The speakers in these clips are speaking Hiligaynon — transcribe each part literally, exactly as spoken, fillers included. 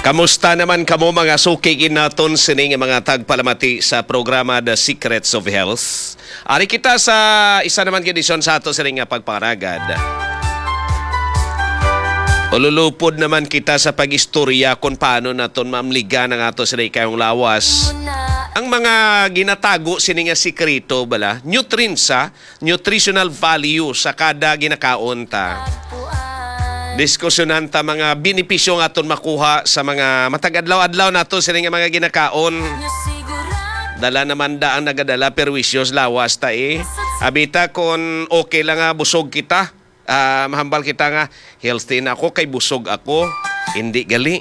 Kamusta naman kamo, mga suki gid naton sini nga mga tagpalamati sa programa The Secrets of Health? Ari kita sa isa naman ka edisyon sa ato sini nga pagpangaragad. Ululupod naman kita sa pag-istorya kung paano naton maamligan ang ato sini kayong lawas. Ang mga ginatago sini nga sikreto bala, nutrients, ha? Nutritional value sa kada ginakaon ta. Diskusyonan ta mga benepisyo nga aton makuha sa mga matag-adlaw-adlaw nato sini nga mga ginakaon. Dala naman da ang nagadala perwisyo sa lawas ta, eh. Abita kon okay lang nga busog kita, ah, mahambal kita nga healthy na ako kay busog ako. Hindi gali.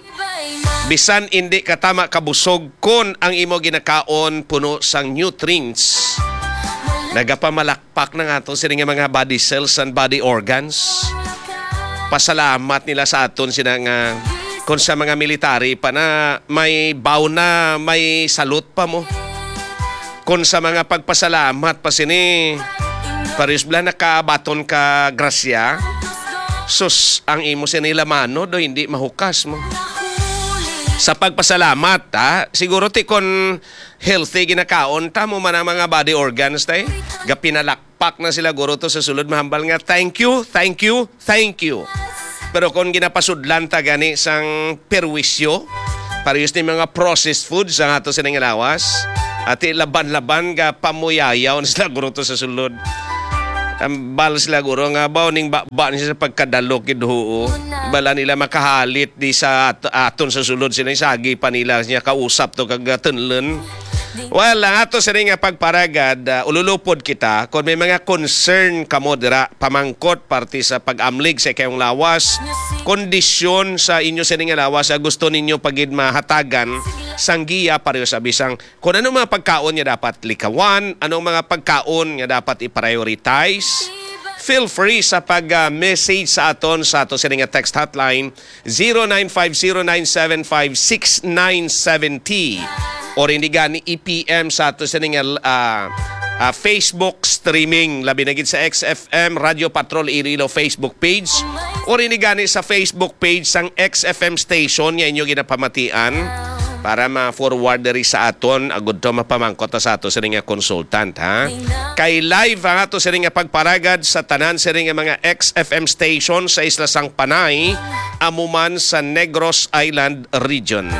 Bisan hindi ka tama kabusog kon ang imo ginakaon puno sang nutrients. Nagapamalakpak na nga ato sini nga mga body cells and body organs. Pasalamat nila sa aton sina nga kung sa mga military pa na may bow na, may salute pa mo. Kung sa mga pagpasalamat pa sini, paris bala nakabaton ka grasya, sus, ang imo sini lamano do hindi mahukas mo. Sa pagpasalamat, ha? Siguro ti kon healthy ginakaon ta mo man ang mga body organs, tay. Gapinalakpak na sila guro to sa sulod mahambal nga, "Thank you, thank you, thank you." Pero kung ginapasudlan ta gani sang perwisyo, parehas ni mga processed foods ang ato sining lawas, ati laban-laban ga pamuyayaw na sila guro to sa sulod. Ambal sila guro nga baw ning baba ni sa pagkadalok gid, huo. Bala nila makahalit di sa at-, aton sa sulod sila sagi pa nila niya kausap to kag tunlon. Well, ang ato sini nga pagparagad, ah, ululupod kita. Kung may mga concern kamo dira, pamangkot parte sa pag-amlig sa ikayong lawas, kondisyon sa inyo sini nga lawas, ah, gusto ninyo pagid mahatagan sang giya pareho sa bisang kung anong mga pagkaon nga dapat likawan, anong mga pagkaon nga dapat i-prioritize, feel free sa pag, ah, message sa aton sa ato sini nga text hotline, zero nine five zero nine seven five six nine seven zero. Or hindi gani i-P M sa ato sining, ah, ah, Facebook streaming, labi na gid sa X F M Radio Patrol Iloilo Facebook page. Or hindi gani sa Facebook page sang X F M station nga inyo ginapamatian para ma-forward diri sa aton, agud to mapamangkot ta sa ato sining nga consultant, ha? Kay live ang ato sining nga pagparagad sa tanan sining nga mga X F M station sa isla sang Panay, amo man sa Negros Island region.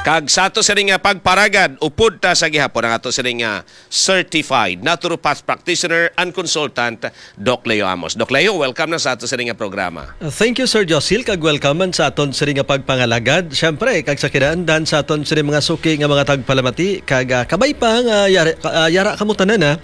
Kag sa ato sini nga pagparagad, upod ta sa gihapon ang ato sini nga certified naturopath practitioner and consultant, Doc Leo Amos. Doc Leo, welcome na sa ato sini nga programa. Thank you, Sir Josil, kag welcome man sa aton sini nga pagpangalagad. Siyempre, kag sa kinaandan sa aton sini mga suki nga mga tagpalamati, kag, ah, kabay pa nga yari-, ah, yara kamo tanan, ah.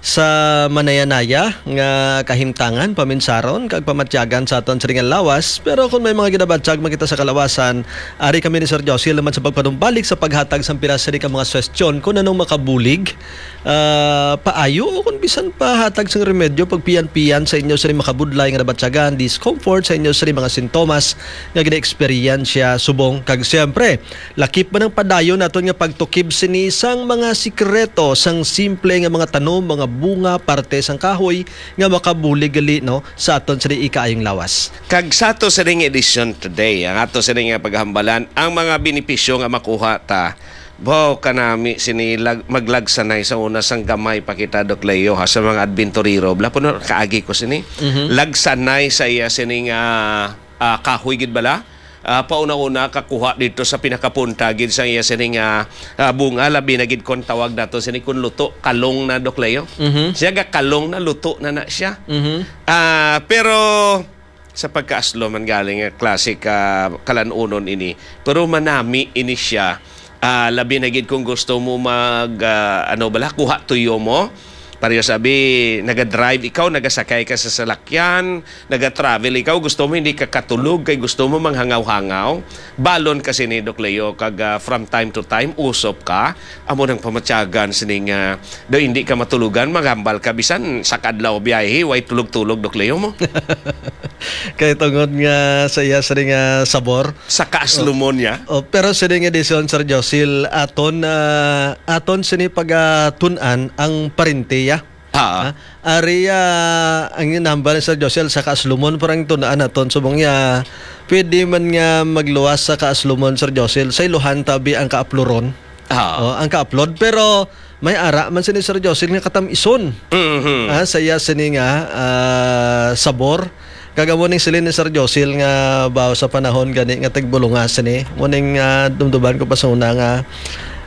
Sa manayanaya nga kahimtangan, paminsaron, kag pamatyagan sa aton sining lawas. Pero kung may mga ginabatyag man kita sa kalawasan, ari kami ni Sir Josil naman sa pagpanumbalik sa paghatag sang pila sini ka mga suwestyon kung anong makabulig, ah, paayo o kung bisan pa hatag sang remedyo, pagpiyan-piyan sa inyo sini makabudlay nga nabatyagan, discomfort sa inyo sini mga sintomas nga gina-eksperyensya subong. Kag siyempre, lakip man ang padayon naton nga pagtukib sini sang mga sikreto sang simple nga mga tanom, mga bunga, parte sang kahoy nga makabulig gali, no, sa aton sini ikaayong lawas. Kag sa ato sining edisyon today, ang ato sini nga paghambalan, ang mga benepisyo nga makuha ta. Baw kanami sini lag-, maglagsanay sa una sang gamay pa kita, Doc Leo, ha, sa mga adventurero. Bala po na kaagi ko sini. Mhm. Lagsanay sa iya sining, ah, ah, kahoy gid bala. Ah, pauna-una kakuha dito sa pinakapunta gid sa iya sining, ah, ah, bunga, labi na gid kon tawag nato sini kun luto, kalong na, Doc Leo. Mhm. Siya ga kalong na, luto na na siya. Mhm. Ah, pero sa pagkaaslo man galing nga klase ka kalanunon ini, pero manami ini siya. Ah, labi na gid kung gusto mo mag, ah, ano bala, kuha tuyo mo. Pareho sabi, naga-drive ikaw, nagasakay ka sa salakyan, naga-travel ikaw, gusto mo hindi ka katulog, kay gusto mo manghangaw-hangaw. Balon kasi ni Doc Leo, kag, ah, from time to time, usop ka. Amo nang pamatyagan sining, ah, daw hindi ka matulugan, magambal ka, bisan sa kadlaw biyahe, way tulog-tulog, Doc Leo mo. Kay tungod nga sa iya sini nga sabor. Sa kaaslumon niya. Oh, pero sini nga edisyon, Sir Josil, aton, ah, aton sini pagatun-an ang parintiya. Ha? Ha? Ari, ah, ang ginahambal ni Sir Josel sa kaaslumon, parang tunaan naton subong niya. Pwede man nga magluwas sa kaaslumon, Sir Josel, sa iluhan tabi ang kaapluron. Ah. Oh, ang kaaplod. Pero may ara man sini, Sir Josel, nga katam-ison. Mhm. Ah, saya sini nga, ah, sabor. Kag amo ning siling ni Sir Josel nga baw sa panahon gani nga tigbulungas sini. Mo ning, ah, dumduman ko pa sa una nga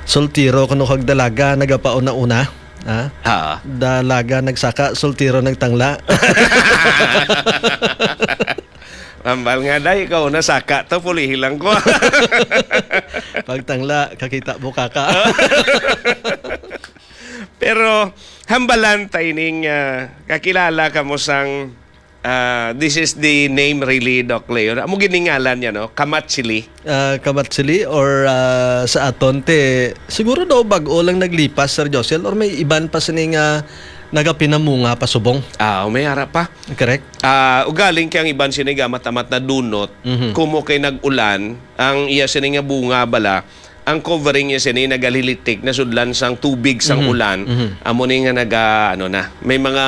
soltero kuno kag dalaga nagapauna-una. Ah? Ha. Dalaga nagsaka, soltero nagtangla. Ambal nga, day, ikaw na saka to, pulihi lang ko. Pagtangla, kakita mo kaka. Pero, hambalan ta ining, ah, kakilala ka mo sang, ah, this is the name really, Doc Leo. Amo giningalan niya, no? Kamatsili. Ah, kamatsili or, ah, sa aton, te, siguro daw bag-o lang naglipas, Sir Josel, or may iban pa sini nga nagapinamunga pa subong? Ah, may ara pa. Correct. Ah, ugaling kay ang iban sini gamat-amat na dunot, Mhm. kumo kay nag-ulan, ang iya sini nga bunga bala, ang covering niya sini nagalilitik na sudlan sang tubig sang Mhm. ulan. Mhm. Amo ni nga naga, ano na, may mga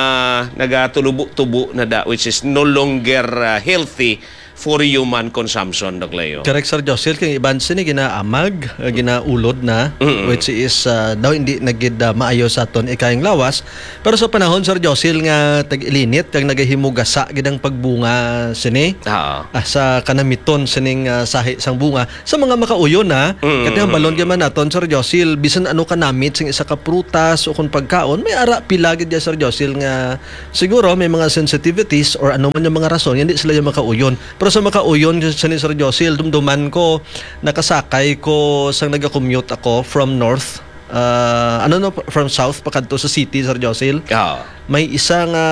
nagatulubo-tubo na da, which is no longer, ah, healthy for human consumption, Doc Leo. Correct, Sir Josel, kay iban sini ginaamag, ah, ginaulod na, Mm-mm. which is, ah, daw hindi na gid, ah, maayo sa aton ikayang lawas. Pero sa panahon, Sir Josel, nga tag-ilinit kag nagahimugasa gid ang pagbunga sini, Oo. ah, sa kanamiton sining, ah, sahi sang bunga, sa mga makauyon na, Mm. kati hambalon gid man naton, Sir Josel, bisan ano kanamit sing isa ka prutas o kung pagkaon, may ara pila gid ya, Sir Josel, nga siguro may mga sensitivities or ano man yung mga rason, hindi sila yung makauyon. Pero sa makauyon, sa ni Sir Josel, dumduman ko, nakasakay ko sang nagakommute ako from north, ah, ano no, from south pakadto sa city, Sir Josel. Oo. May isa nga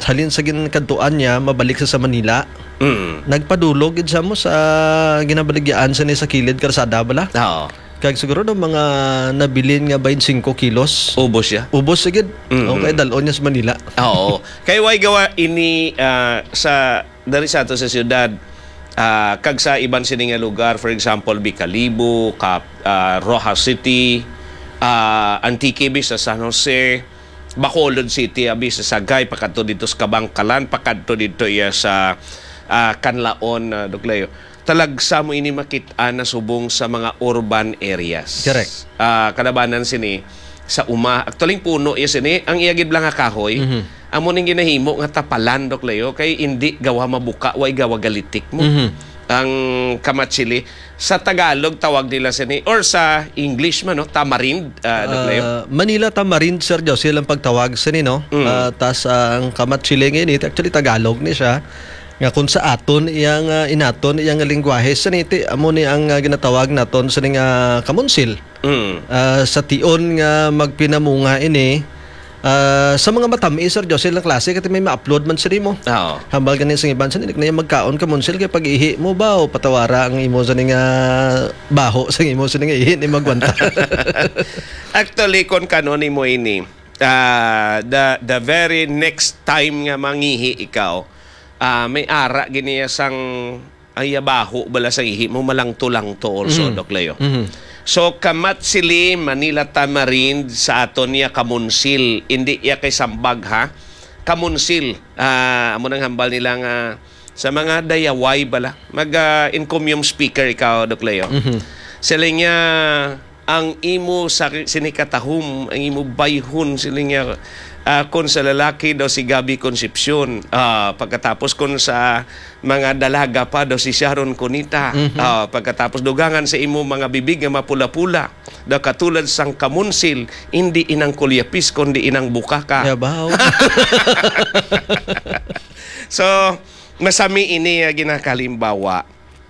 halin sa ginkadtuan niya, mabalik sa, sa Manila. Mm. Nagpadulog gid sa mo sa ginabaligyaan sa ni sa kilid karsada bala. Oo. Kag siguro no mga nabilin nga twenty-five kilos. Ubos siya. Ubos sigid. Mm. Okay, dalon niya sa Manila. Oo. Kay way gawa ini, ah, sa dari sa ato sa siyudad, ah, kag sa iban sini nga lugar, for example, Bicalibo, Cap-, ah, Roxas City, ah, Antique, bi sa San Jose, Bacolod City, abi sa Sagay, pakadto dito sa Kabangkalan, pakadto dito iya sa, ah, Canlaon, ah, Doc Leo. Talagsa mo ini makit-an na subong sa mga urban areas. Correct. Ah, kalabanan sini sa uma. Actually, ang puno iya sini, ang iya gid lang nga kahoy, Mhm. amo ning ginahimo nga tapalan, Doc Leo, kay indi gawa mabuka, way gawa galitik mo. Mhm. Ang kamatsili, sa Tagalog tawag nila sini, or sa English man, no, tamarind, ah, Doc Leo. Ah, Manila tamarind, Sir Josel, ang pagtawag sini, no? Mm. Ah, tas, ah, ang kamatsili nga ini, actually Tagalog ni siya. Nga kung sa aton iyang, ah, inaton iyang lingwahe, sini ti amo ni ang, ah, ginatawag naton sini nga kamunsil. Mm. Ah, sa tion nga magpinamunga ini, ah, sa mga matami, Sir Josel, ang klase, kati may ma-upload man sini mo. Oo. Hambal ganin sa iban, sini na yung magkaon kamunsil, kay pag-ihi mo ba, o patawara ang imo sini nga baho, sa imo sini nga ihi, ni magwanta. Actually, kung kanon imo ini, ah, the, the very next time nga mangihi ikaw, ah, may ara giniya sang ay baho bala sa ihi mo, malangto-langto also, Mm. Doc Leo. Mhm. So, kamatsili, Manila tamarind, sa aton niya kamunsil. Hindi iya kay sambag, ha? Kamunsil. Ah, amo nang hambal nila nga sa mga dayaway bala. Mag, ah, encomium speaker ikaw, Doc Leo. Mhm. Sila niya, ang imo sa sinikatahom, ang imo bayhon, sila niya, ah, kung sa lalaki daw si Gabby Concepcion. Ah, pagkatapos kung sa mga dalaga pa daw si Sharon Cuneta. Mhm. Ah, pagkatapos dugangan sa imo mga bibig nga mapula-pula, daw katulad sang kamunsil, hindi inang kulyapis, kundi inang bukaka. Yabaw. So, masami ini nga ginakalimbawa.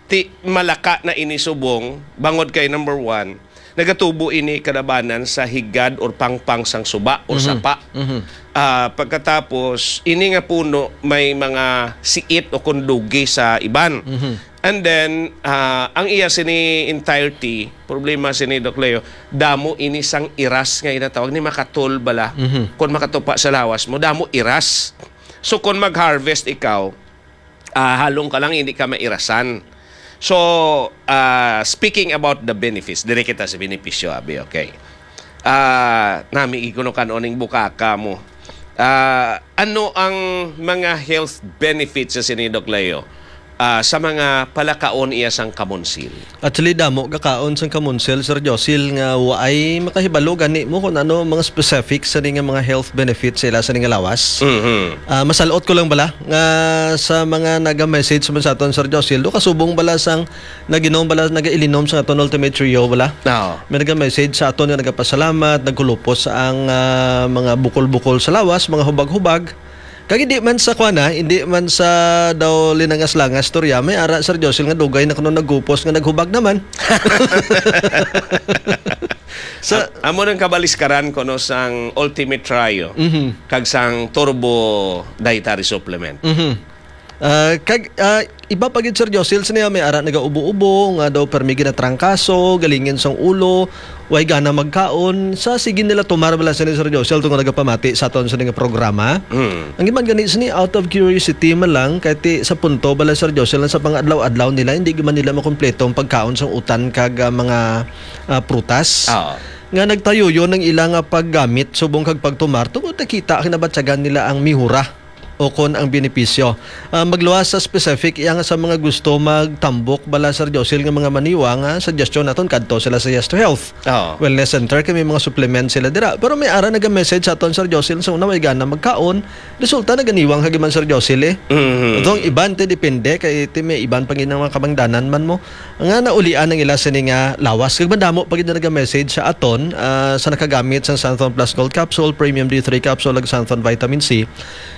Ti, malaka na ini subong, bangod kay number one, nagatubo ini kalabanan sa higad or pangpang sang suba or Mhm. sapa. Mhm. Ah, pagkatapos, ini nga puno may mga siit o kundugi sa iban. Mhm. And then, ah, ang iya sini entirety, problema sini, Doc Leo, damo ini sang iras nga ginatawag ni makatol bala. Mhm. Kung makatupa sa lawas mo, damo iras. So, kung mag-harvest ikaw, ah, halong ka lang, hindi ka mairasan. So, ah, speaking about the benefits, dire kita sa benepisyo, abi, okay. Ah, nami ikuno kan-on ning bukaka mo. Ah, ano ang mga health benefits sa sini, Doc Leo? Ah, sa mga palakaon iya sang kamonsil. Actually, damo gakaon sang kamonsil, Sir Josil, nga waay makahibalo gani mo kung ano mga specific sa nga mga health benefits sila sa nga lawas. Mhm. Ah, masalot ko lang bala nga sa mga naga-message man sa aton, Sir Josil, do kasubong bala sang naginom bala, nagailinom sa aton Ultimate Trio bala. Oo. May naga-message sa aton nga nagapasalamat, nagkulupos ang, ah, mga bukol-bukol sa lawas, mga hubag-hubag. Kag hindi man sa kwan, ah, hindi man sa daw linangas-langas storya, may ara, Sir Josil, nga dugay na kuno nagkupos nga naghubag naman. Sa Am-, amo nang kabaliskaran kuno sang Ultimate Trio Mhm. kag sang Turbo Dietary Supplement. Mhm. Ah, kag, ah, iba pa gid, Sir Josil, sa niya may ara nagaubo-ubo, nga daw permi ginatrangkaso, galingin sang ulo, way gana magkaon. Sa sige nila tumar bala sini, Sir Josil, tungod nagapamati sa aton sa nga programa. Mm. Ang iban gani sini, out of curiosity man lang, kay ti sa punto bala, Sir Josil, sa pang-adlaw-adlaw nila, hindi man nila makumpleto ang pagkaon sang utan kag, ah, mga, ah, prutas. Oo. Nga nagtayuyon ang ila nga paggamit subong kag pagtumar tungod nakita, kinabatyagan nila ang mihura o kon ang benepisyo. Ah, magluwas sa specific, iya nga sa mga gusto magtambok bala, Sir Josil, nga mga maniwa, nga suggestion naton kadto sila sa Yes to Health Oo. Wellness Center, kay may mga supplement sila dira. Pero may ara naga-message sa aton, Sir Josil, sa una way gana magkaon, resulta naganiwang kag iban, Sir Josil, eh. Mhm. Although ang iban ti depende kay ti may iban pa gid nga mga kabangdanan man mo nga naulian ang ila sini nga lawas. Kag madamo pa gid na naga-message sa aton, ah, sa nakagamit sang Santhon Plus Gold Capsule, Premium D three Capsule, ug Santhon Vitamin C.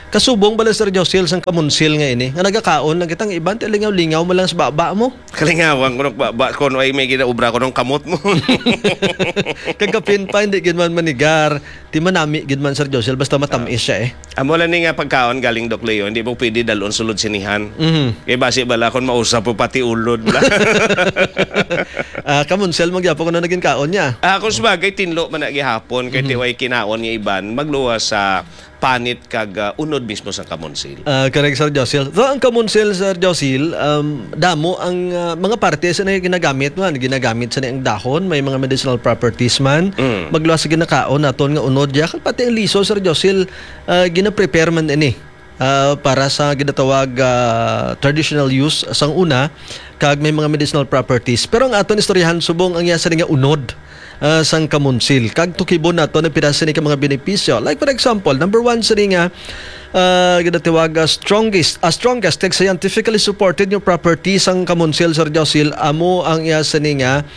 Kasubong bala, Sir Josil, sang kamunsil nga ini, nga nagakaon lang kita, ang iban ti lingaw-lingaw mo lang sa baba mo. Kalingawan ko nung baba, kung ay may ginaubra ko nung kamot mo. Kag kapin pa, hindi gid man manigar. Ti manami gid man, Sir Josil, basta matamis siya eh. Amo lang ni nga pagkaon galing, Doc Leo, hindi mo pwede dalon sulod sinihan. Mhm. Kay basi bala kung mausa po pati ulod bala. Ah, kamunsel mo gyapon kuno naging kaon niya. Ah, kung sabagay, tinlo man na gihapon, kay Mhm. tiway kinaon nga iban, magluwas sa panit kag, ah, unod mismo sa kamunsil. Ah, correct, Sir Josil. So, ang kamunsil, Sir Josil, um, damo ang, ah, mga parte sa na ginagamit man. Ginagamit sa na ang dahon, may mga medicinal properties man. Mm. Magluwas sa ginakaon naton nga unod ya. Kag pati ang liso, Sir Josil, ah, gina-prepare man ini, ah, para sa ginatawag, ah, traditional use sang una, kag may mga medicinal properties. Pero ang aton istoryahan subong ang iya sa nga unod, ah, sang kamunsil. Kag tukibon nato ang pira sini ka mga benepisyo. Like, for example, number one sini nga, ah, ginatawag, ah, strongest, ah, strongest kag scientifically supported nga property sang kamunsil, Sir Josil, amo ang iya sini nga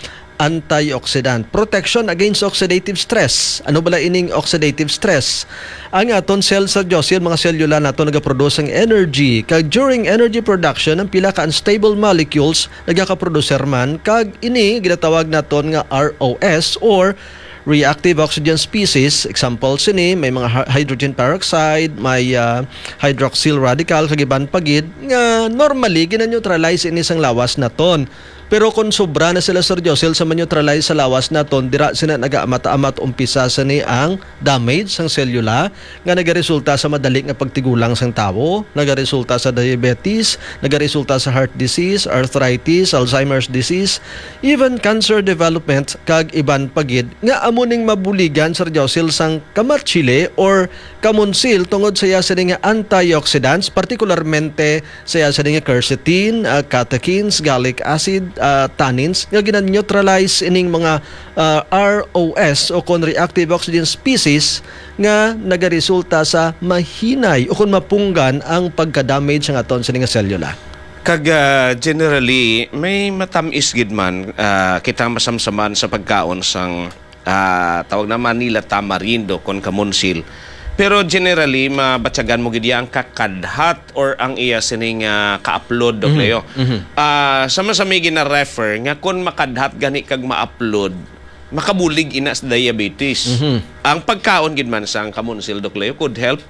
antioxidant. Protection against oxidative stress. Ano bala ining oxidative stress? Ang aton cell, Sir Josil, mga selula nato nagaproduce sang energy. Kag during energy production, ang pila ka unstable molecules nagakaproducer man, kag ini ginatawag naton nga R O S or reactive oxygen species. Example sini, may mga hy-, hydrogen peroxide, may, ah, hydroxyl radical, kag iban pa gid nga normally gina-neutralize ini sang lawas naton. Pero kung sobra na sila, Sir Josil, sa ma-neutralize sa lawas naton, dira sila nagaamat-amat, umpisa sini ang damage sang selula nga nagaresulta sa madali nga pagtigulang sang tawo, nagaresulta sa diabetes, nagaresulta sa heart disease, arthritis, Alzheimer's disease, even cancer development, kag iban pa gid, nga amo ning mabuligan, Sir Josil, sang kamatchili or kamunsil tungod sa iya sini nga antioxidants, partikularmente sa iya sini nga quercetin, ah, catechins, gallic acid, ah, tannins, nga gina-neutralize ining mga, ah, R O S o kon reactive oxygen species nga nagaresulta sa mahinay o kon mapunggan ang pagka-damage sang aton sini nga selula. Kag, ah, generally, may matamis gid man, ah, kita masamsaman sa pagkaon sang, ah, tawag na Manila tamarindo kon kamunsil. Pero generally, mabatyagan mo gid iya ang kakadhat or ang iya sining, ah, kaaplod, Doc Mhm, Leo. mhm. Ah, sama sa may gina-refer nga kon makadhat gani kag maaplod, makabulig ina sa diabetes. Mhm. Ang pagkaon gid man sang kamunsil, Doc Leo, could help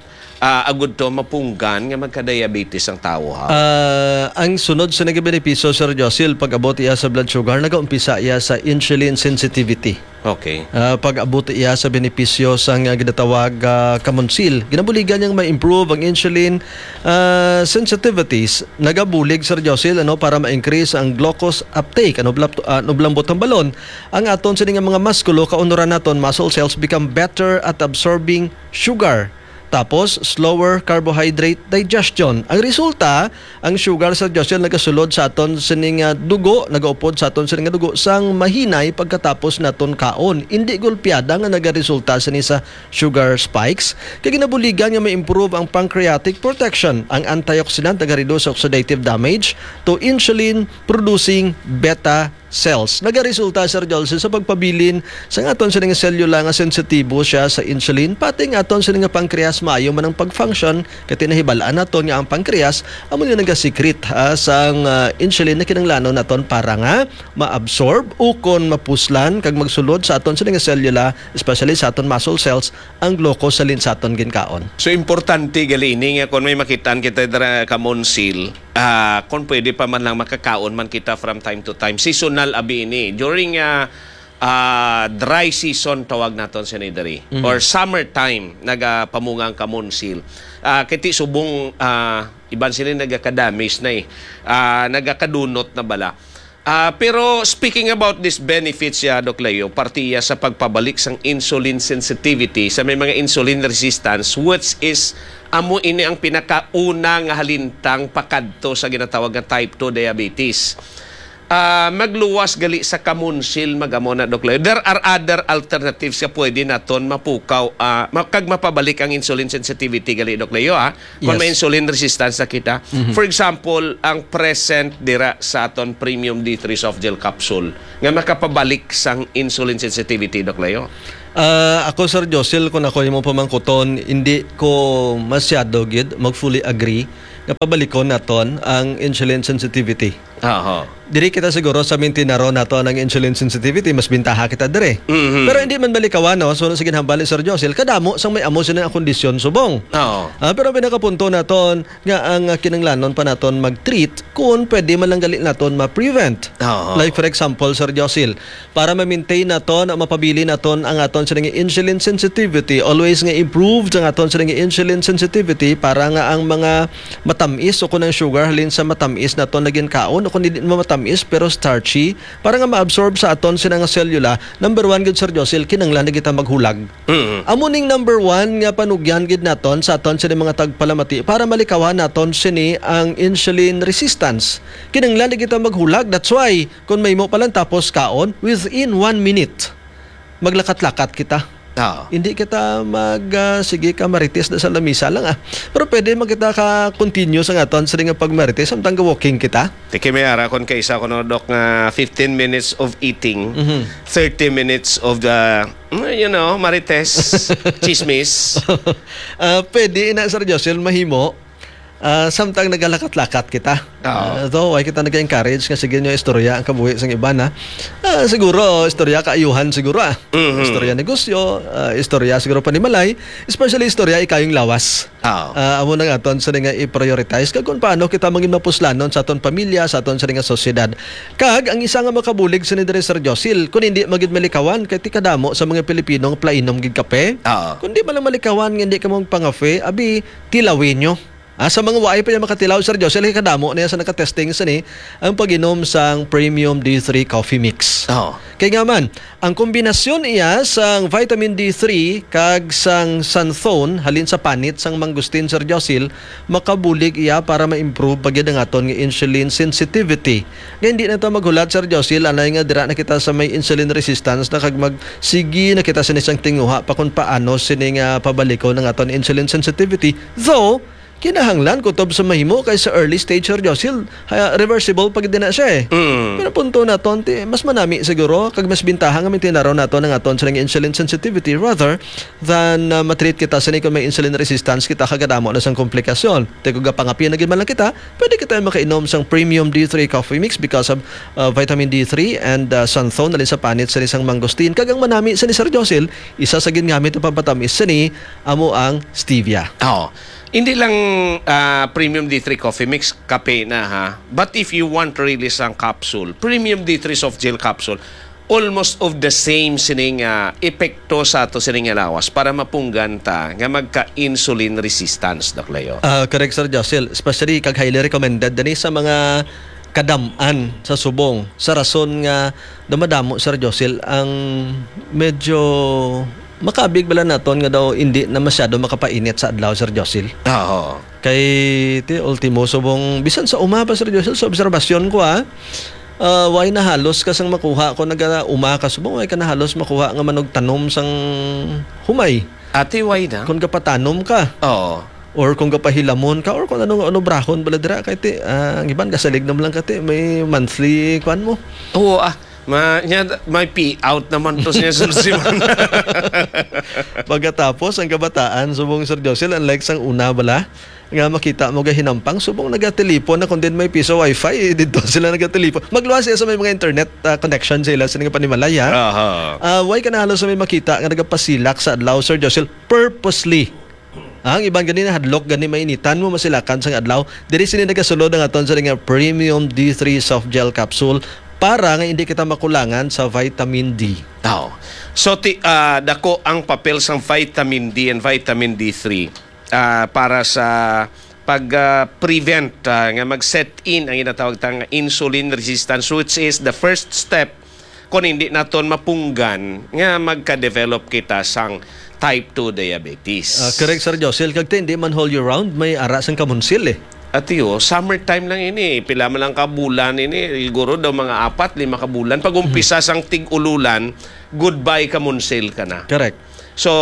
ah, agud to mapunggan nga magka-diabetes ang tawo, ha? Ah, ang sunod sa nagabenepisyo, Sir Josil, pag-abot iya sa blood sugar, nagaumpisa iya sa insulin sensitivity. Okay. Ah, pag-abot iya sa benepisyo sang, ah, ginatawag, ah, kamonsil. Ginabuligan niyang ma-improve ang insulin, ah, sensitivities. Nagabulig, Sir Josil, ano, para ma-increase ang glucose uptake. Ano, blap-, ah, ano, blambot ang balon? Ang aton sini nga mga muskulo, kaunoran naton, muscle cells become better at absorbing sugar. Tapos, slower carbohydrate digestion. Ang resulta, ang sugar, Sir Joshua, nagasulod sa aton sini nga dugo, nagaupod sa aton sini nga dugo sang mahinay pagkatapos naton kaon. Indi gulpiada nga nagaresulta sini sa sugar spikes. Kay ginabuligan nga ma-improve ang pancreatic protection. Ang antioxidant nagareduce sa oxidative damage to insulin producing beta cells. Nagaresulta, Sir Jolson, sa pagpabilin sa aton sini nga selula nga sensitibo siya sa insulin, pati ang aton sini nga pancreas maayo man ang pag-function, kay tinahibal-an naton nga ang pancreas amo ni nagasecrete, ah, sang, ah, insulin na kinahanglanon naton para nga ma-absorb ukon mapuslan kag magsulod sa aton sini nga selula, especially sa aton muscle cells, ang glucose halin sa aton ginkaon. So, importante gali ini nga kung may makitaan kita dira kamonsil, ah, kung pwede pa man lang makakaon man kita from time to time. Seasonal abi ini. During, ah, ah, dry season tawag naton sini diri, Mhm. or summer time nagapamunga ang kamonsil. Ah, kay ti subong, ah, iban sila nagakadamage na eh. Ah, nagakadunot na bala. Ah, pero speaking about this benefits, ya, Doc Leo, parte iya sa pagpabalik sang insulin sensitivity sa may mga insulin resistance, which is amo ini ang pinakauna nga halintang pakadto sa ginatawag nga type two diabetes. Ah, magluwas gali sa kamunsil, magamo na, Doc Leo. There are other alternatives nga pwede naton mapukaw, ah, ma-, kag mapabalik ang insulin sensitivity gali, Doc Leo, ah. Kung may Yes. insulin resistance na kita. Mhm. For example, ang present dira sa aton Premium D three soft gel capsule nga makapabalik sang insulin sensitivity, Doc Leo. Ah, ako, Sir Josil, kung ako imo pamangkuton, hindi ko masyado gid mag-fully agree nga pabalikon naton ang insulin sensitivity. Aha. Diri kita siguro sa mintinaro nato ang insulin sensitivity, mas bintaha kita diri. Mhm. Pero hindi man malikawan, no? So, sa ginhambal ni Sir Josil, kadamo sang may amo sini ang kondisyon subong. Oo. Ah, pero ang pinakapunto naton nga ang, ah, kinahanglanon pa naton mag-treat kung pwede man lang gali naton ma-prevent. Oo. Like, for example, Sir Josil, para ma-maintain naton, mapabili naton ang aton sini nga insulin sensitivity, always nga improve ang aton sini nga insulin sensitivity para nga ang mga matamis o kung ang sugar halin sa matamis naton nga ginkaon o kung hindi mo matamis pero starchy, para nga ma-absorb sa aton sini nga selula, number one gid, Sir Josil, kinahanglan na kita maghulag. Mm. Amo ning number one nga panugyan gid naton sa aton sini mga tagpalamati para malikawan naton sini ang insulin resistance. Kinahanglan na kita maghulag. That's why, kung may mo pa lang tapos kaon, within one minute, maglakat-lakat kita. Oo. Hindi kita mag, ah, sige ka marites na sa lamisa lang, ah. Pero pwede man kita ka continue sa aton sini nga pagmarites samtang ga-walking kita. Tiki may ara kon kaisa ko no, Doc, nga fifteen minutes of eating, Mhm. thirty minutes of the, mm, you know, marites, chismis. Ah, pwede na, Sir Josil, mahimo. Ah, samtang nagalakat-lakat kita. Oo. Ah, though, why kita nag-encourage nga sige nyo istorya ang kabuhi sang iban, ha? Ah, siguro, istorya kaayuhan siguro, ah. Mhm. Istorya negosyo, ah, istorya siguro panimalay, especially istorya ikayong lawas. Oo. Ah, amo na nga aton sa nga i-prioritize kag kung paano kita mangin mapuslanon sa aton pamilya, sa aton sa nga sosyedad. Kag ang isa nga makabulig sa ni diri, Sir Josil, kung hindi magid malikawan kay ti kadamo sa mga Pilipino nga plainom gid kape. Oo. Kung di man lang malikawan nga hindi ka magpangafe, abi, tilawin nyo. Ah, sa mga waay pa niya makatilaw, Sir Josil, kay kadamo niya sa nakatesting sa ni ang pag-inom sang Premium D three Coffee Mix. Oo. Kay nga man, ang kombinasyon iya sang vitamin D three kag sang xanthone halin sa panit sang mangustin, Sir Josil, makabulig iya para ma-improve pa gid ang aton nga insulin sensitivity. Nga hindi na ta maghulat, Sir Josil, anay nga dira na kita sa may insulin resistance na kag mag-, sige na kita sa isang tinguha pa kung paano sini nga pabalikon ang aton insulin sensitivity. Though, kinahanglan kutob sa mahimo kay sa early stage, Sir Josil, ha, reversible pa gid na siya eh. Mm. Pero punto naton, ti, mas manami siguro, kag mas bintaha nga mintinaraw naton ang aton sa insulin sensitivity rather than, uh, matreat kita sini kung may insulin resistance kita kag kadamo na sang komplikasyon. Ti kung gapangapi na gid man lang kita, pwede kita makainom sang Premium D three Coffee Mix because of, uh, vitamin D three and, uh, xanthone halin sa panit sini sang mangosteen. Kag ang manami sini, Sir Josil, isa sa gingamit nga pampatamis sini amo ang stevia. Oo. Hindi lang, ah, Premium D three Coffee Mix, kape na, ha. But if you want really sang capsule, Premium D three Soft Gel Capsule, almost of the same sining, ah, epekto sa ato sining lawas para mapunggan ta nga magka-insulin resistance, Doc Leo. Ah, correct, Sir Josil. Especially kag highly recommended dani sa mga kadam-an sa subong, sa rason nga dumadamo, Sir Josil, ang medyo makabig bala naton nga daw hindi na masyado makapainit sa adlaw, Sir Josil. Oo. Kay, ti, ultimo, subong, bisan sa uma pa, Sir Josil, sa obserbasyon ko, ah, ah, way na halos ka sang makuha ko, naga-uma ka, subong, way ka na halos makuha nga manugtanom sang humay. Ati, way na? Kung gapatanom ka. Oo. Or kung gapahilamon ka, or kung ano nga, ano, brahon bala dira, kay ti, ah, ang iban gasalig naman lang ka, ti, may monthly, kwan mo. Oo, ah, ma-, nya, may pay out naman to siya, Sir Simon. Pagkatapos, ang kabataan, subong, Sir Josil, unlike sang una bala, nga makita mo gahinampang, subong nagatelipon na kung din may piso wifi, eh, dito sila nagatelipon. Magluwas siya sa may mga internet, ah, connection sila sa nga panimalay, ha? Aha. Ah, way ka na halos sa may makita nga nagapasilak sa adlaw, Sir Josil, purposely. Ang iban gani nahadlok gani mainitan mo masilakan sang adlaw. Diri sini nagasulod ang aton sa nga premium D three soft gel capsule para nga hindi kita makulangan sa vitamin D. Tao. So, ti, ah, dako ang papel sang vitamin D and vitamin D three, ah, para sa pag, ah, prevent, ah, nga mag-set in ang ginatawag tang insulin resistance, which is the first step kung hindi naton mapunggan nga magka-develop kita sang type two diabetes. Ah, correct, Sir Josil. Kag ti, hindi man all year round, may ara sang kamunsil, eh. Ati, oh, summertime lang ini. Pila man lang ka bulan ini. Siguro daw mga apat, lima ka bulan. Pag umpisa Mhm. sang tig-ululan, goodbye kamunsil ka na. Correct. So,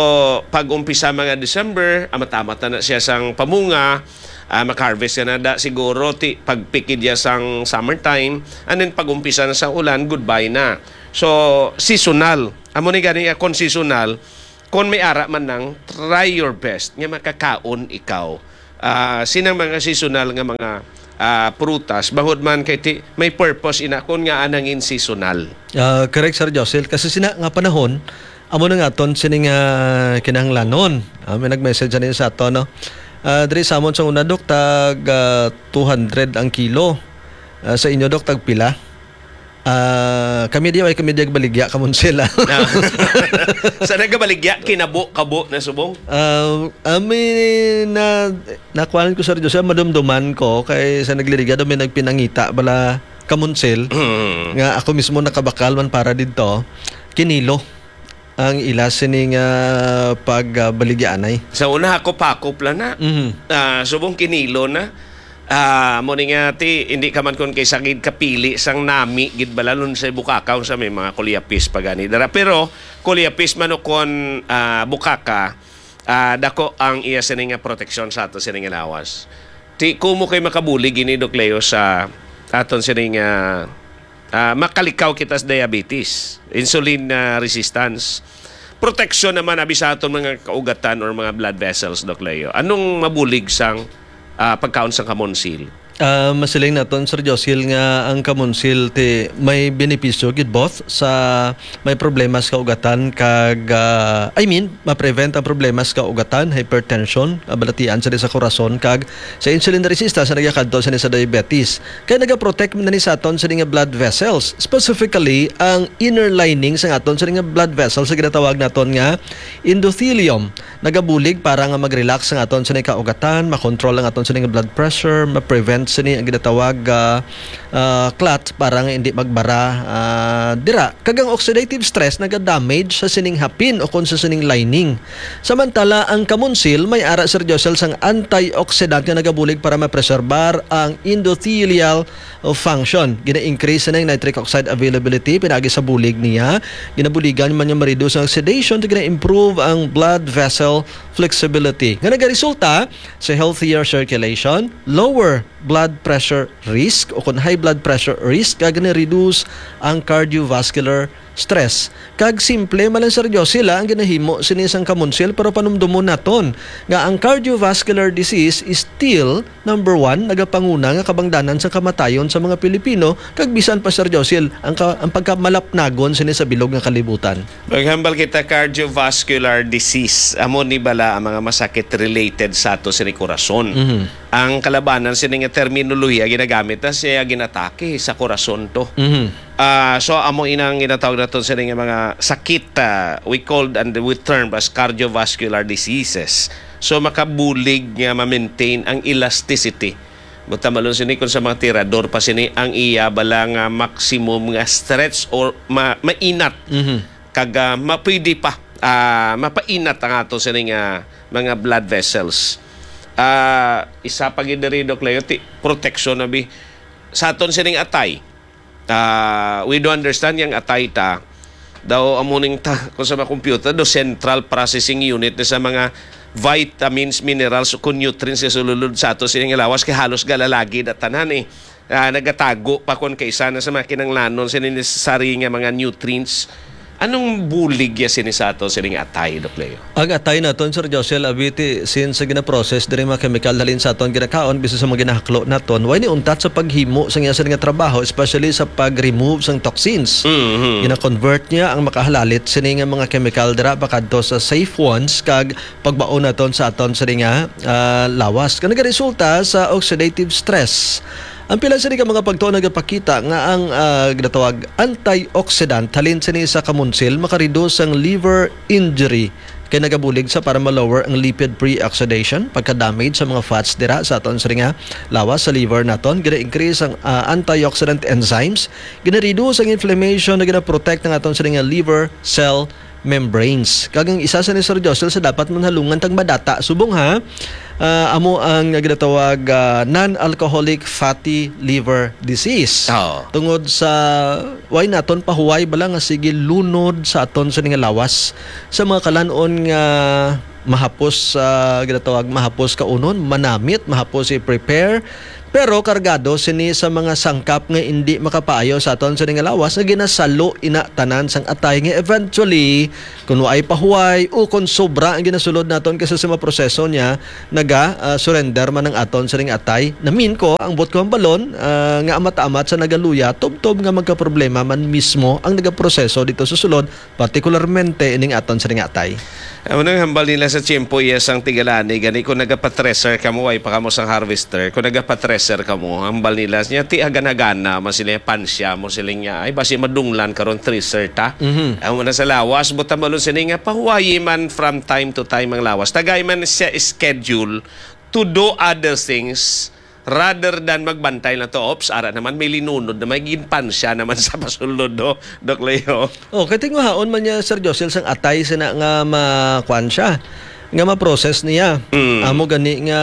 pag umpisa mga December, amat-amat na, na siya sang pamunga, ah, mag-harvest ka na da, siguro, ti, pagpikit niya sang summertime, and then pag umpisa na sa ulan, goodbye na. So, seasonal. Amo ni gani, ah, kung seasonal, kung may ara man nang, try your best nga makakaon ikaw, ah, sinang mga seasonal nga mga, ah, prutas, bangod man kay ti, may purpose ina kung nga anangin seasonal. Ah, correct, Sir Josil. Kasi sina nga panahon, amo na nga aton sining, ah, kinahanglanon. Ah, may nag-message ani sa ato, no? Ah, diri sa amon sa una, Dok, tag, ah, two hundred ang kilo. Ah, sa inyo, Dok, tag pila? Ah, kami di, ay kami di baligya, kamunsil, ah. Ah. Sa nagabaligya, kinabo-kabo na subong? Ah, ami na, nakuhaan ko, Sir Jose, madumduman ko, kay sa nagliligya daw may nagpinangita, bala, kamunsil, Mm. nga ako mismo nakabakal man para didto, kinilo ang ila sini nga pag, ah, baligyaanay. Sa una, hakop-hakop lang na. Mhm. Ah, subong kinilo na. Ah, mo ni nga ti, hindi ka man kun kay sagid kapili sang nami gid bala lun sa bukakaw sa may mga kulyapis pa gani dara. Pero kulyapis man o kon, ah, bukaka, ah, dako ang iya sini nga proteksyon sa ato sini nga lawas. Ti kumo kay makabulig ini, Doc Leo, sa aton sini nga, ah, makalikaw kita sa diabetes, insulin, ah, resistance. Proteksyon naman abi sa aton mga kaugatan or mga blood vessels, Doc Leo. Anong mabulig sang, ah, pagkaon sang kamonsil? Ah, masiling naton, Sir Josil, nga ang kamonsil ti may benepisyo gid both sa may problema sa kaugatan kag, ah, I mean, ma-prevent ang problema sa kaugatan, hypertension, ah, balatian sa sa korason kag sa insulin resistance sa nagakadto sa sa diabetes. Kay nagaprotect man ni sa aton sa nga blood vessels, specifically ang inner lining sa aton sa nga blood vessels sa ginatawag naton nga endothelium. Nagabulig para nga mag-relax ang aton sa kaugatan, makontrol ang aton sa nga blood pressure, ma-prevent sini ang ginatawag, ah, ah, clot para nga hindi magbara, ah, dira. Kag ang oxidative stress nagadamage sa sining hapin o kon sa sining lining. Samantala, ang kamunsil may ara, Sir Josel, sang antioxidant nga nagabulig para mapreserbar ang endothelial function. Gina-increase na ang nitric oxide availability pinaagi sa bulig niya. Ginabuligan man niya ma-reduce ang oxidation, gina-improve ang blood vessel flexibility. Nga nagaresulta sa healthier circulation, lower blood pressure risk o kon high blood pressure risk, kag ni-reduce ang cardiovascular stress. Kag simple man lang, Sir Josie, la, ang ginahimo sini sang kamunsil, pero panumdumon naton nga ang cardiovascular disease is still number one, nagapanguna nga kabangdanan sang kamatayon sa mga Pilipino, kag bisan pa, Sir Josie, ang ka-, ang pagkamalapnagon sini sa bilog nga kalibutan. Maghambal kita, cardiovascular disease, amo ni bala ang mga masakit related sa ato sini korason. Mhm. Ang kalabanan sini nga terminolohiya ginagamit na siya ginatake sa korason to. Mhm. Ah, so amo inang ginatawag naton sini nga mga sakit, ah, we called and we term as cardiovascular diseases. So makabulig nga ma-maintain ang elasticity. Buta malon sini kung sa mga tirador pa sini ang iya bala nga maximum nga stretch or ma-, mainat. Mhm. Kag, ah, ma-, pwede pa, ah, mapainat ang ato sini nga mga blood vessels. Ah, isa pa gid diri, Doc Leo, ti-, protection na bi sa aton sining atay. Ah, we do understand yang atay ta daw amo ning ta, kung sa mga computer, do central processing unit na sa mga vitamins, minerals, ug nutrients nga sulod sa ato sining lawas, kay halos galalagi na tanan eh. Ah, nagatago pa kon kaisa na sa mga kinanglanon sa necessary nga mga nutrients. Anong bulig ya sini sa ato sining atay, Doc Leo? Ang atay naton, Sir Josel, abiti, since ginaprocess diri mga chemical halin sa aton ginakaon, bisan sa mga ginahaklo naton, way ni untat sa paghimo sa iya sini nga trabaho, especially sa pag-remove sang toxins. Mhm. Gina-convert niya ang makahalalit sini nga mga chemical dira pakadto sa safe ones, kag pagbaon naton sa aton sini nga, ah, lawas. Kag nagaresulta sa oxidative stress. Ang pila sini ka mga pagtuon nagapakita nga ang, ah, ginatawag antioxidant halin sini sa kamunsil makareduce sang liver injury, kay nagabulig sa para ma-lower ang lipid pre-oxidation, pagka-damage sa mga fats dira sa aton sini nga lawas, sa liver naton. Gina-increase ang, ah, antioxidant enzymes, gina-reduce ang inflammation, na gina-protect ang aton sini nga liver cell membranes. Kag ang isa sa ni Sir Josel sa dapat manhalungan tang madata subong ha, ah, amo ang ginatawag, ah, non-alcoholic fatty liver disease. Oo. Tungod sa way naton pahuway bala nga sige lunod sa aton sini nga lawas sa mga kalan-on nga mahapos, ah, ginatawag mahapos kaunon, manamit, mahapos i-prepare, pero kargado sini sa mga sangkap nga indi makapaayo sa aton sini nga lawas nga ginasalo ina tanan sang atay nga eventually, kun waay pahuway o kun sobra ang ginasulod naton kaysa sa mga proseso niya, naga, ah, surrender man ang aton sining atay. Namin ko, ang buot ko ang balon, ah, nga amat-amat sa nagaluya, tubtob nga magkaproblema man mismo ang nagaproseso dito sa sulod, partikularmente ining aton sining atay. Amo nang hambal nila sa tiyempo, yes, ang tigalani, gani kung nagapatreser kamo, way pa kamo sang harvester, kung nagapatreser kamo, hambal nila, niya, ti hagan-hagana man sila, pansya mo sila niya, ay, basi madunglan karon treser ta. Mhm. Amo na sa lawas, buta malon sini nga, pahuwayi man from time to time ang lawas. Tagay man siya schedule to do other things rather than magbantay lang to, ops, ara naman, may linunod na may ginpansya naman sa pasulod, no, Doc Leo? Oh, kay tinguhaon man niya, Sir Josel, sang atay sina nga ma-, kuwan siya, nga ma-process niya. Mm. Amo gani nga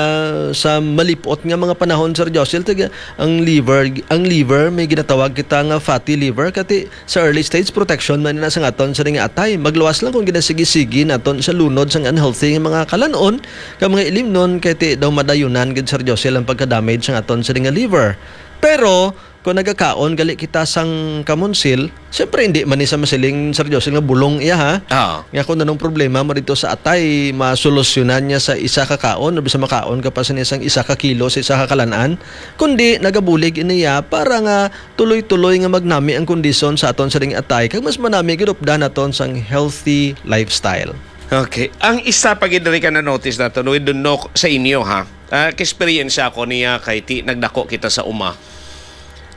sa malipot nga mga panahon, Sir Josel, tiga-, ang liver, ang liver may ginatawag kita nga fatty liver, kati sa early stage protection man na sa aton sa nga atay. Magluwas lang kung ginasigi-sigi naton sa lunod sang unhealthy nga mga kalanon, ka mga ilimnon, kay ti daw madayunan gid, Sir Josel, ang pagka-damage sang aton sa nga liver. Pero kung nagakaon gali kita sang kamunsil, siyempre hindi man ni sa masiling, Sir Josel, nga bulong iya, ha? Oo. Nga kung anong problema mo dito sa atay, masolusyonan niya sa isa ka kaon, o bisa makaon ka pa sa isang isa ka kilo sa isa ka kalan-an, kundi nagabulig iniya para nga tuloy-tuloy nga magnami ang kondisyon sa aton sa ding atay, kag mas manami gid updan naton sang healthy lifestyle. Okay. Ang isa pa gid diri ka na-notice nato, no, we don't know sa inyo, ha. Ah, ka-experience ako niya kay ti nagdako kita sa uma.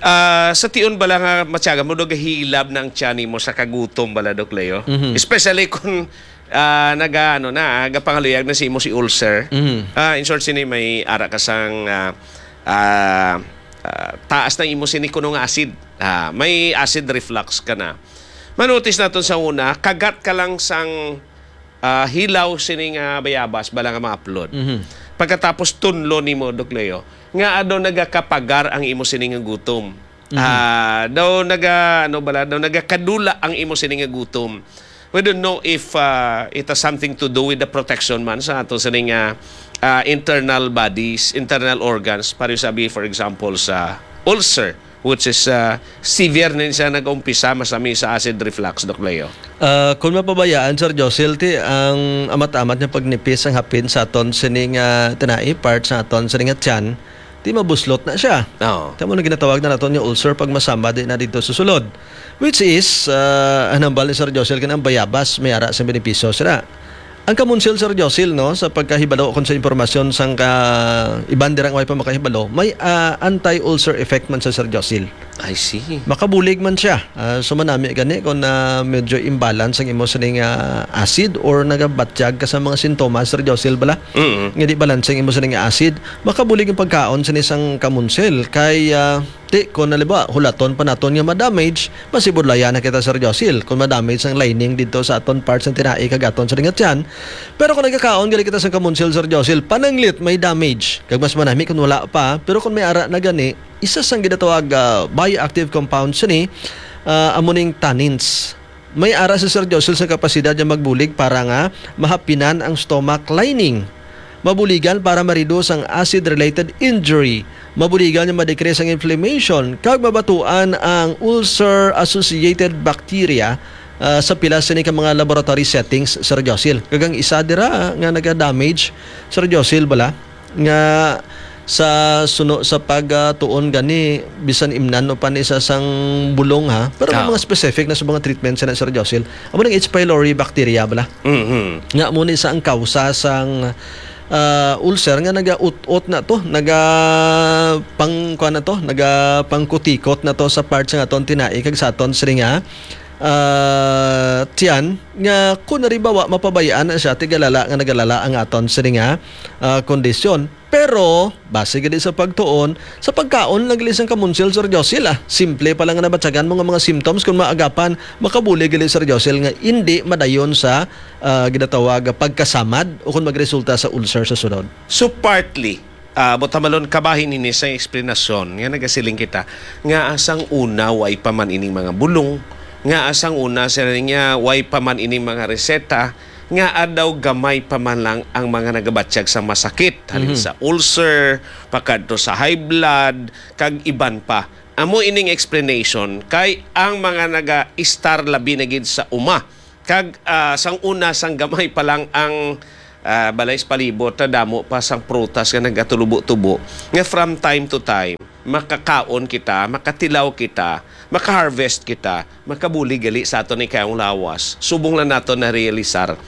Ah, sa tion bala nga matyaga mo, nagahilab na ang tiyan mo sa kagutom bala, Doc Leo. Mhm. Especially kung, ah, naga, ano na, ah, gapangaluyag na si imo si ulcer. Mhm. Ah, in short, sini may ara ka sang, ah, ah, ah, taas na imo sini kuno nga acid. Ah, may acid reflux ka na. Manotis naton sa una, kagat ka lang sang, ah, hilaw sini nga bayabas, bala nga ma-upload. Mhm. Pagkatapos tunlo nimo, Doc Leo, nga daw nagakapagar ang imo sini nga gutom. Mhm. Ah, daw naga, ano bala, daw nagakadula ang imo sini nga gutom. We don't know if, ah, it has something to do with the protection man sa ato sini nga, ah, internal bodies, internal organs, pareho sabi, for example, sa ulcer, which is, ah, severe na siya nag-umpisa, masami sa acid reflux, Doc Leo. Ah, kung mapabayaan, Sir Josil, ti ang amat-amat nga pagnipis ang hapin sa aton sining, ah, tinai, part sa aton sining nga tiyan, ti mabuslot na siya. Oo. Tamo na ginatawag na naton nga ulcer pag masama di na dito sa sulod. Which is, ah, ang hambal ni Sir Josil, kanang bayabas, may ara sa benepisyo sila. Ang kamunsil, Sir Josil, no, sa pagkahibalo kon sa impormasyon sang ka iban dirang way pa makahibalo, may, ah, anti-ulcer effect man sa, Sir Josil. I see. Makabulig man siya. Ah, so manami gani kung, ah, medyo imbalance ang imo sining, ah, acid or nagabatyag ka sa mga sintomas, Sir Josil, bala? Mm. Nga di balance ang imo sining acid, makabulig ang pagkaon sini sang kamunsil. Kay, ah, ti, kung halimbawa, hulaton pa naton nga ma-damage, masibudlayan na kita, Sir Josil, kung ma-damage ang lining dito sa aton parts ng tinai kag aton sa ringat yan. Pero kung nagkakaon gali kita sa kamunsil, Sir Josil, pananglit may damage. Kag mas manami kung wala pa, pero kung may ara na gani, isa sang ginatawag, ah, bioactive compound sini, ah, amo ning tannins. May ara si Sir Josil sa kapasidad nga magbulig para nga mahapinan ang stomach lining. Mabuligan para ma-reduce ang acid-related injury. Mabuligan nga ma-decrease ang inflammation kag mabatuan ang ulcer-associated bacteria, ah, sa pila sini ka mga laboratory settings, Sir Josil. Kag ang isa dira nga naga-damage, Sir Josil, bala, nga sa suno sa pagtuon gani, bisan imnan o pa ni sa sang bulong, ha, pero may Ah. mga specific na sa mga treatment sa, Sir Josil. Amo nang H. pylori bacteria bala. Mhm. Nga mo ni sa ang kausa sang, ah, ulcer nga nagaut-ot na to, naga pang kuan na to, naga pangkutikot na to sa part sa aton tinai kag sa aton siring nga, ah, tiyan, nga kung halimbawa mapabayaan na siya, tigalala nga nagalala ang aton siring nga, ah, kondisyon. Pero, base gani sa pagtuon, sa pagkaon lang gali sang kamunsil, Sir Josil, ah. Simple pa lang nga nabatyagan mo nga mga symptoms, kung maagapan, makabulig gali, Sir Josil, nga indi madayon sa, ah, ginatawag nga pagkasamad o kung magresulta sa ulcer sa sunod. So, partly, ah, butamalon kabahin ini sa eksplanasyon nga nagasiling kita, nga asang una way pa man ining mga bulong, nga asang una sila nga way pa man ining mga reseta, nga adaw gamay pa man lang ang mga nagabatyag sa masakit, halin Mhm. sa ulcer, pakadto sa high blood, kag iban pa. Amo ining explanation kay ang mga naga-istar labi na gid sa uma. Kag, ah, sang una, sang gamay pa lang ang, ah, balay sa palibot, na damo pa sang prutas nga nagatulubo-tubo, nga from time to time, makakaon kita, makatilaw kita, maka-harvest kita, makabulig gali sa aton ikayong lawas. Subong lang naton na-realisar,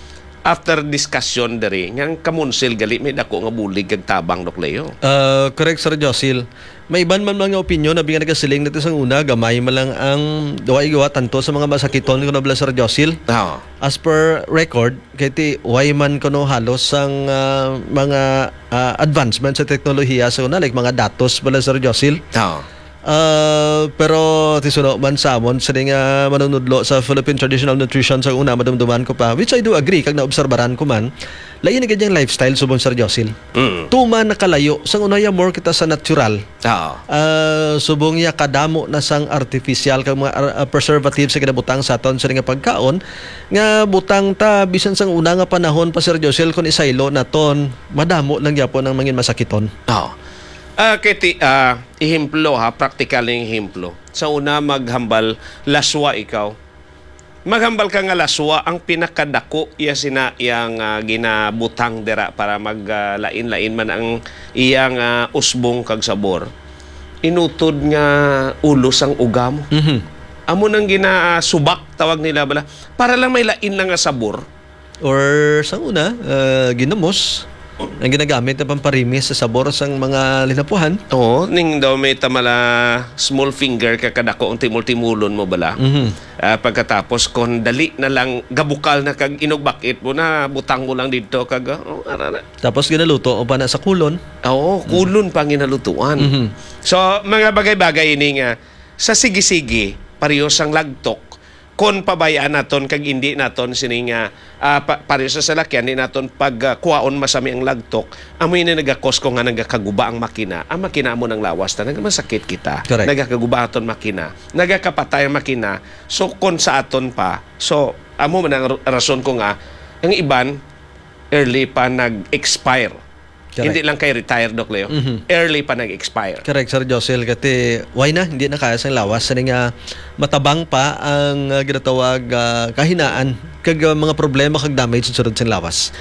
after discussion diri, nga ang kamunsil gali may dako nga bulig kag tabang, Doc Leo. Ah, correct, Sir Josil. May iban man mga opinion, abi nga nagasiling nato sang una, gamay man lang ang gawa-gawa tanto sa mga masakiton, kuno bala, Sir Josil. Oo. As per record, kay ti, way man kuno halos sang, ah, mga, ah, advancement sa teknolohiya sa una, like mga datos bala, Sir Josil. Oo. Ah, pero ti suno man sa amon, sini nga manunudlo sa Philippine Traditional Nutrition sa una, madumduman ko pa, which I do agree, kag naobserbaran ko man, lain na gid yung lifestyle subong, Sir Josil. Mm. Tuman nakalayo, sang una ya more kita sa natural. Oo. Ah, subong ya kadamo na sang artificial kag mga ar-, ah, preservative sa ginabutang sa aton sa nga pagkaon, nga butang ta bisan sang una nga panahon pa, Sir Josil, kung isaylo naton, madamo lang gyapon ang mangin masakiton. Oo. Ah, kay ti-, ah, ehemplo ha, praktikal nga ehemplo. Sa una, maghambal laswa ikaw. Maghambal ka nga laswa ang pinakadako iya sina iyang, ah, ginabutang dira para mag, ah, lain-lain man ang iyang, ah, usbong kag sabor. Inutod nga ulo sang ugam. Mhm. Amo nang ginasubak, tawag nila bala. Para lang may lain lang nga sabor. Or sa una, ah, ginamos ang ginagamit na pamparimis sa sabor sang mga linapuhan. Oo, ning daw may tamala small finger ka kadako ang timol-timulon mo bala. Mhm. Ah, pagkatapos kon dali na lang gabukal na kag inugbakit mo na, butang mo lang didto kag, ah, oh, ara na. Tapos ginaluto o pa na sa kulon. Oo, Mhm. kulon pa ang ginalutuan. Mhm. So, mga bagay-bagay ini nga sa sige-sige, pareho sang lagtok, kon pabayaan naton kag indi naton sini nga, ah, pa-, pareho sa salakyan, di naton pag, ah, kuwaon masami ang lagtok, amo ini nagakos ko nga nagakaguba ang makina. Ang makina amo nang lawas ta, nagamasakit kita. Correct. Nagakaguba aton makina. Nagakapatay ang makina. So, kon sa aton pa, so, amo man ang r-, rason ko nga, ang iban, early pa nag-expire. Correct. Hindi lang kay retire, Doc Leo. Mhm. Early pa nag-expire. Correct, Sir Josel. Kati, why na? Hindi na kaya sang lawas. Sini nga matabang pa ang, ah, ginatawag, ah, kahinaan kag, ah, mga problema kag damage sa sulod sing lawas.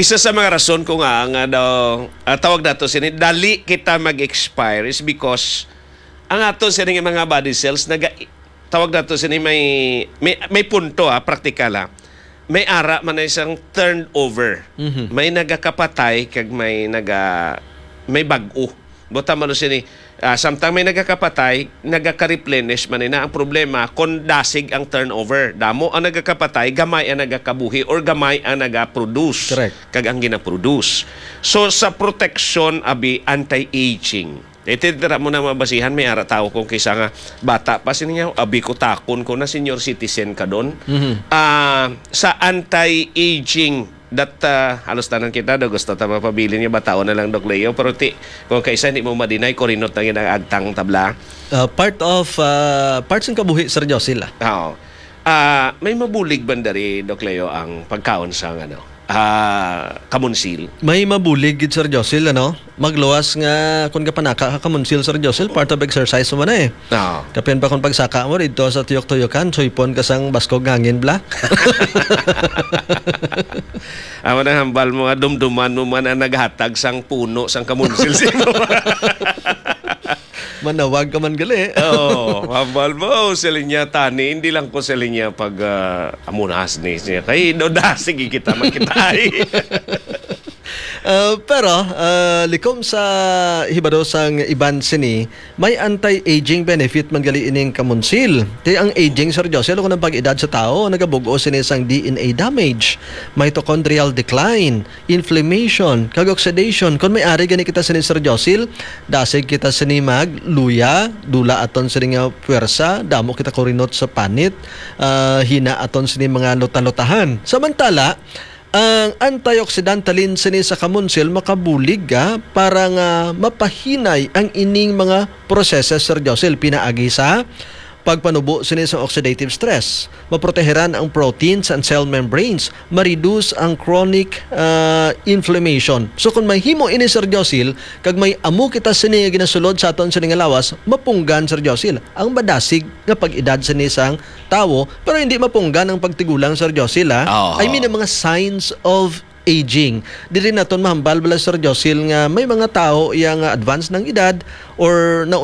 Isa sa mga rason ko nga nga daw, ah, tawag nato sini, dali kita mag-expire is because ang ato sini nga mga body cells naga tawag nato sini may may, may punto, ah, praktikal, ah. May ara man na isang turnover. Mhm. May nagakapatay kag may naga may bag-o. Buta man sini, ah, samtang may nagakapatay, nagaka-replenish man na. Ang problema, kung dasig ang turnover, damo ang nagakapatay, gamay ang nagakabuhi, or gamay ang nagaproduce. Correct. Kag ang ginaproduce. So, sa protection, abi, anti-aging. Iti dira mo na mabasihan, may ara tao kung kisa nga bata pa, sini niya, abi ko takon ko na senior citizen ka doon. Mhm. Ah, sa anti-aging, that, ah, halos tanan kita do gusto ta mapabilin nga bataon na lang, Doc Leo, pero ti, kung kaisa hindi mo madinay, kurinot na gid ang agtang tabla. Ah, part of, ah, parts ng kabuhi, Sir Josil, ah. Oo. Ah, may mabulig bandari, Doc Leo, ang pagkaon sa, ano, ah, kamunsil? May mabulig gid, Sir Josil, ano? Magluwas nga kung kapanaka ka kamunsil, Sir Josil, part of exercise mo na eh. Oo. Kapin pa kung pagsaka mo dito sa tuyok-tuyokan, suypon ka sang baskog nga hangin, bla? Amo nang hambal mo nga dumduman mo man ang naghatag sang puno sang kamunsil sa imo. Manawag ka man gali. Oo, hambal mo, siling niya, tani, hindi lang ko siling niya pag, ah, amunas ni siya. Kay, no, da, sige kita, magkita ay. Ah, pero, ah, likom sa hibado sang iban sini, may anti-aging benefit man gali ining kamunsil. Kay ang aging, Sir Josel, kung ang pag-edad sa tao, nagabug-os sini sang D N A damage, mitochondrial decline, inflammation, kag oxidation. Kung may ari gani kita sini, Sir Josil, dasig kita sini magluya, dula aton sini nga puwersa, damo kita kurinot sa panit, ah, hina aton sini mga luta-lutahan. Samantala, ang antioxidant halin sini sa kamunsil makabulig, ah, para nga mapahinay ang ining mga proseso, Sir Josil, pinaagi sa pagpanubo sini sa oxidative stress. Maproteheran ang proteins and cell membranes, ma-reduce ang chronic, ah, inflammation. So, kung mahimo ini, Sir Josil, kag may amo kita sini nga ginasulod sa aton sini nga lawas, mapunggan, Sir Josil, ang madasig nga pag-edad sini sang tawo, pero hindi mapunggan ang pagtigulang, Sir Josil, ha? Oo. I mean, ang mga signs of aging. Diri naton mahambal bala, Sir Josil, nga may mga tawo iya nga advance ng edad or na